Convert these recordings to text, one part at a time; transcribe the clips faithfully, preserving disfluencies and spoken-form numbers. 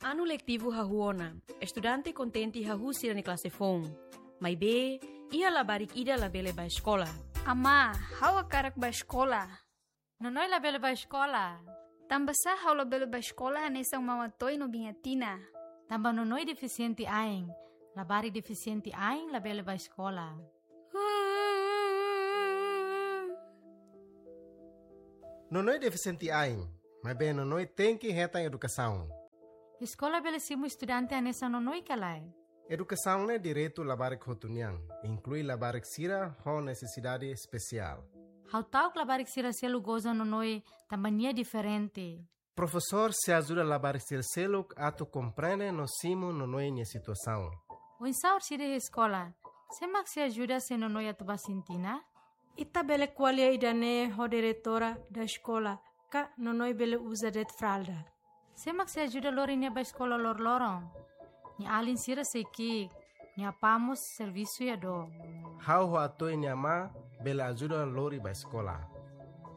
Anu letivu hahú ona, estudante kontente hahú sira-nia klase foun. Maibé, iha labarik ida labele bá eskola. Amá, ha'u hakarak bá eskola. Nonoi labele bá eskola. Tanbasá ha'u labele bá eskola hanesan Mama Toy no Biña Tina? Tanba Nonoi defisiente ain. Labarik defisiente ain labele bá eskola. Nonoi defisiente ain, maibé Nonoi tenke hetan edukasaun. Eskola bele simu estudante hanesan Nonoi ka lae? Edukasaun ne'e direitu labarik hotu nian, inklui labarik sira ho nesesidade espesiál. Ha'u ta'uk labarik sira seluk goza Nonoi tanba nia diferente. Profesór sei ajuda labarik sira seluk atu komprende no simu Nonoi nia situasaun. Oinsá orsida iha eskola, sé mak sei ajuda se Nonoi atu bá sintina? Ita bele ko'alia ida-ne'e ho diretora da eskola, ka Nonoi bele uza de'it fralda. Sé mak sei ajuda lori nia bá eskola loroloron? Nia alin sira sei ki'ik, nia apá mós servisu iha dook. Ha'u ho Atoy nia amá bele ajuda lori bá eskola.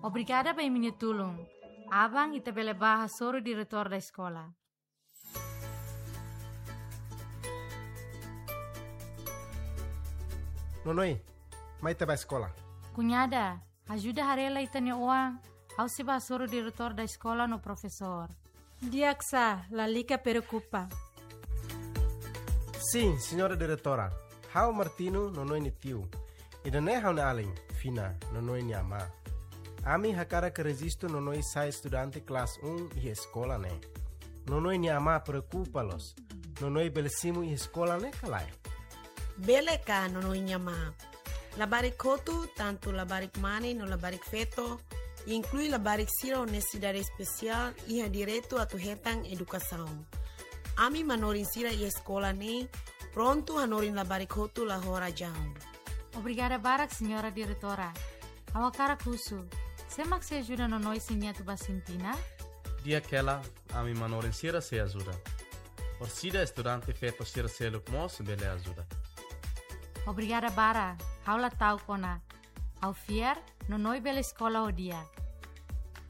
Obrigada ba imi-nia tulun. Aban ita bele bá hasoru diretór da eskola. Nonoi, mai ita bá eskola. Kuñada, ajuda haree lai ita-nia oan, ha'u sei bá hasoru diretór da eskola no profesór. Di'ak sá, lalika preokupa. Sin, señora diretora. Ha'u Martino, Nonoi nia tiu. Ida-ne'e ha'u-nia alin, Fina, Nonoi nia amá. Ami hakarak rejistu Nonoi sai estudante klase um iha eskola ne'e. Nonoi nia amá preokupa loos. Nonoi bele simu iha eskola ne'e ka lae? Bele ka, Nonoi nia amá? Labarik hotu, tantu labarik mane no labarik feto, inklui labarik sira ho nesesidade espesiál, iha direitu atu hetan edukasaun. Ami manorin sira iha eskola ne'e prontu hanorin labarik hotu la ho razaun. Obrigada barak, señora diretora. Ha'u hakarak husu, sé mak sei ajuda Nonoi se nia atu bá sintina? Di'ak hela, ami manorin sira sei ajuda. Orsida estudante feto sira seluk mós bele ajuda. Obrigada barak, ha'u la ta'uk ona. Ha'u fiar, Nonoi bele eskola ho di'ak.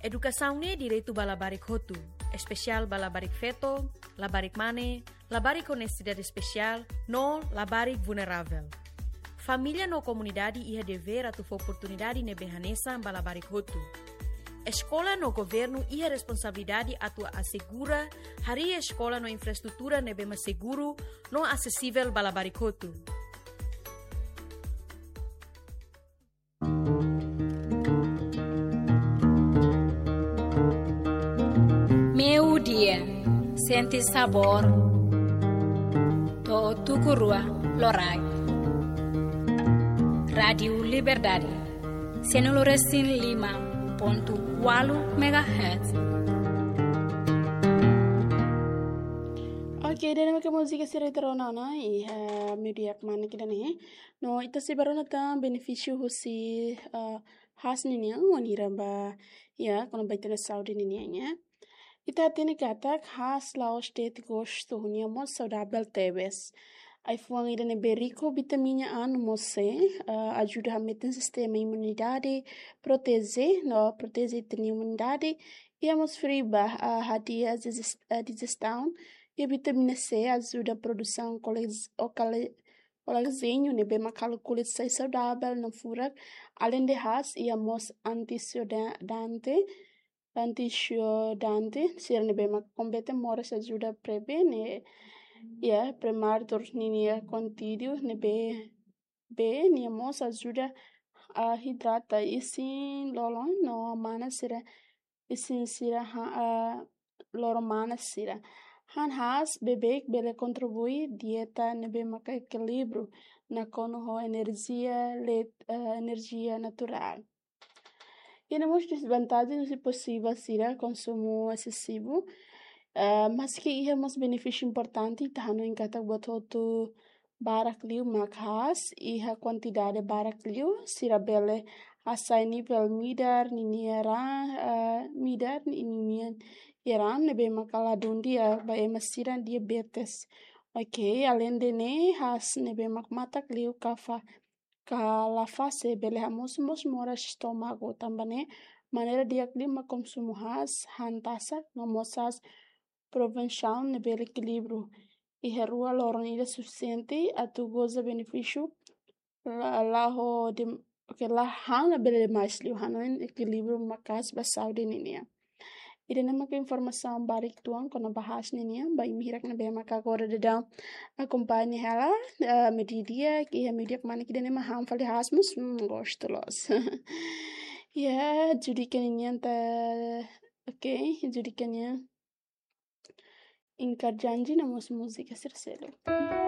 Edukasaun ne'e direitu ba labarik hotu, espesiál ba labarik feto, labarik mane, labarik ho nesesidade espesiál, no labarik vulneravel. Família no komunidade iha devér atu fó oportunidade ne'ebé hanesan ba labarik hotu. Eskola no governu iha responsabilidade atu asegura harii eskola no infraestrutura ne'ebé mak seguru no asesivel ba labarik hotu. Meiudia, sente sabór to'o tuku rua loraik. Rádiu Liberdade, cento e cinco e cinco ponto quatro megahertz. Ok, ida-ne'e mak múzika sira ita rona ona iha meiudia kmanek ida-ne'e. No ita sei bá rona tan benefísiu husi, ah, haas ninian, wainhira ba, ya, kona-ba ita-nia saúde ninian, ya. Ita hatene katak haas la'ós de'it gostu, nia mós saudavel tebes. Ai-fuan ida ne'ebé riku vitamina A no mós C, ah, ajuda hametin sistema imunidade, proteje, no proteje ita-nia imunidade, iha mós fibra, ah, hadi'a digest-, ah, digestaun, iha vitamina C ajuda produsaun kolaj-, o kale-, kolájenu ne'ebé mak halo kulit sai saudavel no furak. Alende haas, iha mós antiosidan-, antioxidante sira ne'ebé mak kompete moras ajuda prevene, ya, prematuridade ninia konteúdu ne'ebé, be, nia mós ajuda, ah, hidrata isin lolon no mana sira, isin sira ha, ah, loro mana sira. Han haas beibeik bele kontribui dieta ne'ebé maka ekilíbriu nakonu ho enerjia, let-, ah, enerjia naturál. Iha mós dezvantajen husi posivel sira konsumu esesivu. Ah, maski iha mós benefísiu importante, ita hanoin katak buat hotu barak liu mak haas, iha kuantidade barak liu, sira bele hasai nivel midar ninia raan, eh, midar ninia raan ne'ebé maka ladún di'ak ba ema sira diabetes. Ok, alende ne'e haas ne'ebé mak matak liu ka fa-, ka la fase bele hamosu mós moras estómagu, tanba ne'e maneira di'ak liu mak konsumu haas, han tasak, no mós haas provensaun ne'ebé ekilíbriu iha rua loron ida sufisiente atu goza benefísiu la, la ho de, oke, la han labele demais liu, hanoin ekilíbriu maka'as ba saúde ninian. Ida-ne'e maka informasaun badak uitoan kona-ba haas ninian, ba imi hirak ne'ebé maka agora daudaun akompaña hela, eh, mediodía, ke iha mediodía kmanek ida-ne'e mak han fali haas mós, hmm, gostu loos. Ya, Judika ninian ta, oke, Judika nian Inkar Janji no mós múzika sira seluk.